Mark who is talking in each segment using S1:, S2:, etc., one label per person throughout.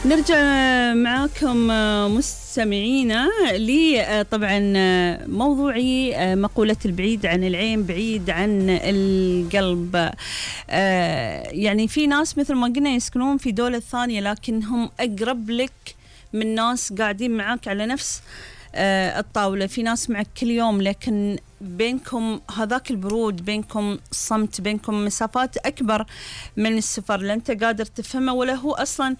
S1: نرجع معاكم مستمعينا لي طبعا موضوعي مقولة البعيد عن العين بعيد عن القلب. يعني في ناس مثل ما قلنا يسكنون في دولة ثانية لكنهم أقرب لك من ناس قاعدين معاك على نفس الطاولة. في ناس معك كل يوم لكن بينكم هذاك البرود، بينكم صمت، بينكم مسافات أكبر من السفر. لا أنت قادر تفهمه ولا هو أصلا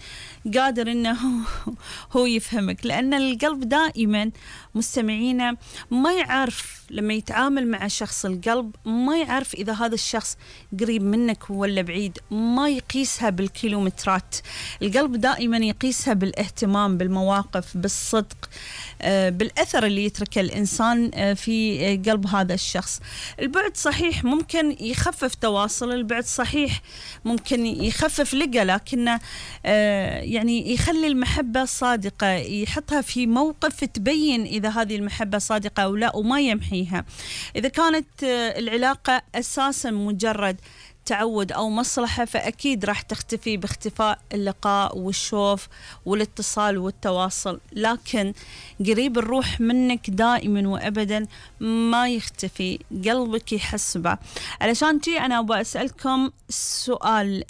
S1: قادر إنه هو يفهمك، لأن القلب دائما مستمعينا ما يعرف لما يتعامل مع شخص. القلب ما يعرف إذا هذا الشخص قريب منك ولا بعيد، ما يقيسها بالكيلومترات. القلب دائما يقيسها بالاهتمام، بالمواقف، بالصدق، بالأثر اللي يتركه الإنسان في قلب هذا الشخص. البعد صحيح ممكن يخفف تواصل، البعد صحيح ممكن يخفف لقى، لكنه يعني يخلي المحبة صادقة، يحطها في موقف تبين إذا هذه المحبة صادقة أو لا وما يمحيها. إذا كانت العلاقة أساسا مجرد تعود أو مصلحة فأكيد راح تختفي باختفاء اللقاء والشوف والاتصال والتواصل، لكن قريب الروح منك دائما وأبدا ما يختفي، قلبك يحسبه. علشان تي أنا أبغى أسألكم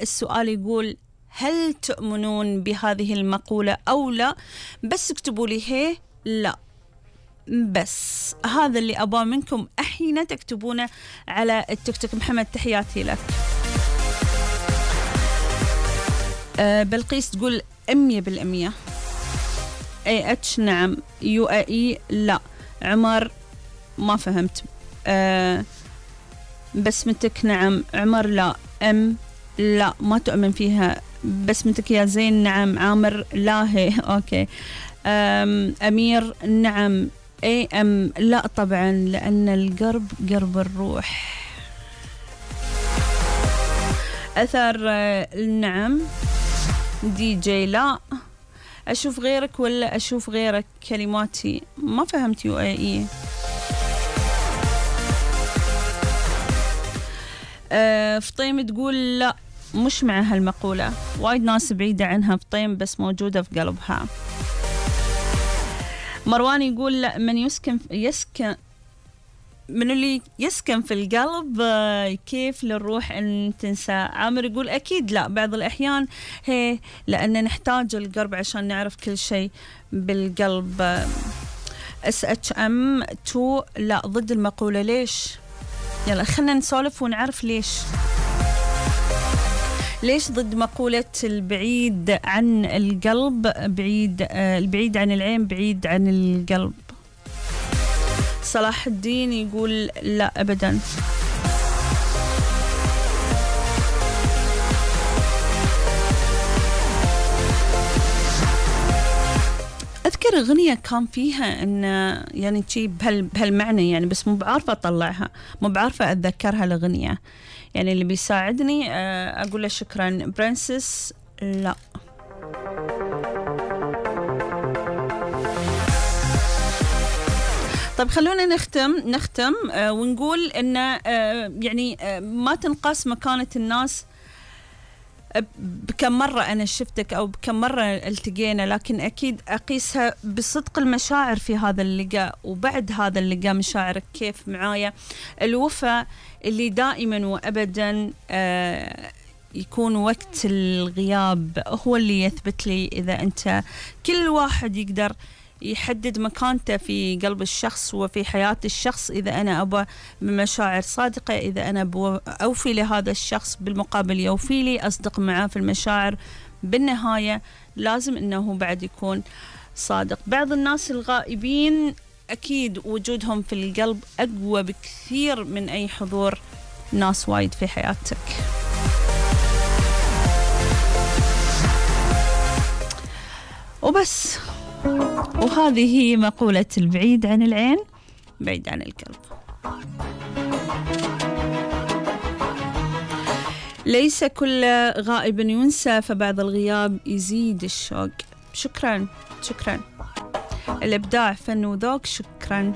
S1: السؤال يقول: هل تؤمنون بهذه المقولة أو لا؟ بس اكتبوا لي هي لا، بس هذا اللي أبغى منكم أحيانا تكتبونه على التيك توك. محمد تحياتي لك. بلقيس تقول 100%. AH نعم. UAE لا. عمر ما فهمت. بسمتك نعم. عمر لا. لا ما تؤمن فيها. بسمتك يا زين نعم. عامر لا هي أوكي. أمير نعم. لا طبعا، لأن القرب قرب الروح. أثر نعم. DJ لا. أشوف غيرك ولا أشوف غيرك؟ كلماتي ما فهمت. UAE. فطيم تقول لا مش مع هالمقولة، وايد ناس بعيدة عنها فطيم بس موجودة في قلبها. مروان يقول لا، من اللي يسكن في القلب كيف للروح أن تنسى. عامر يقول أكيد لا، بعض الأحيان هي لأن نحتاج القرب عشان نعرف كل شيء بالقلب. SHM2 لا، ضد المقولة. ليش؟ يلا خلنا نسولف ونعرف ليش ضد مقولة البعيد عن القلب البعيد عن العين بعيد عن القلب. صلاح الدين يقول لا أبدا. أذكر أغنية كان فيها إن يعني شيء بهالمعنى يعني، بس مو بعارفة أطلعها، مو بعارفة أتذكرها الأغنية. يعني اللي بيساعدني أقول له شكرا. برنسس لا. طيب خلونا نختم ونقول إن يعني ما تنقاس مكانة الناس بكم مرة أنا شفتك أو بكم مرة التقينا، لكن أكيد أقيسها بصدق المشاعر في هذا اللقاء، وبعد هذا اللقاء مشاعرك كيف معايا. الوفاء اللي دائما وأبدا يكون وقت الغياب هو اللي يثبت لي إذا أنت. كل واحد يقدر يحدد مكانته في قلب الشخص وفي حياة الشخص. إذا أنا أبى بمشاعر صادقة، إذا أنا أوفي لهذا الشخص بالمقابل يوفي لي، أصدق معه في المشاعر، بالنهاية لازم أنه بعد يكون صادق. بعض الناس الغائبين أكيد وجودهم في القلب أقوى بكثير من أي حضور ناس وايد في حياتك. وبس، وهذه هي مقولة البعيد عن العين بعيد عن القلب. ليس كل غائب ينسى، فبعض الغياب يزيد الشوق. شكرا. الإبداع فن وذوق. شكرا.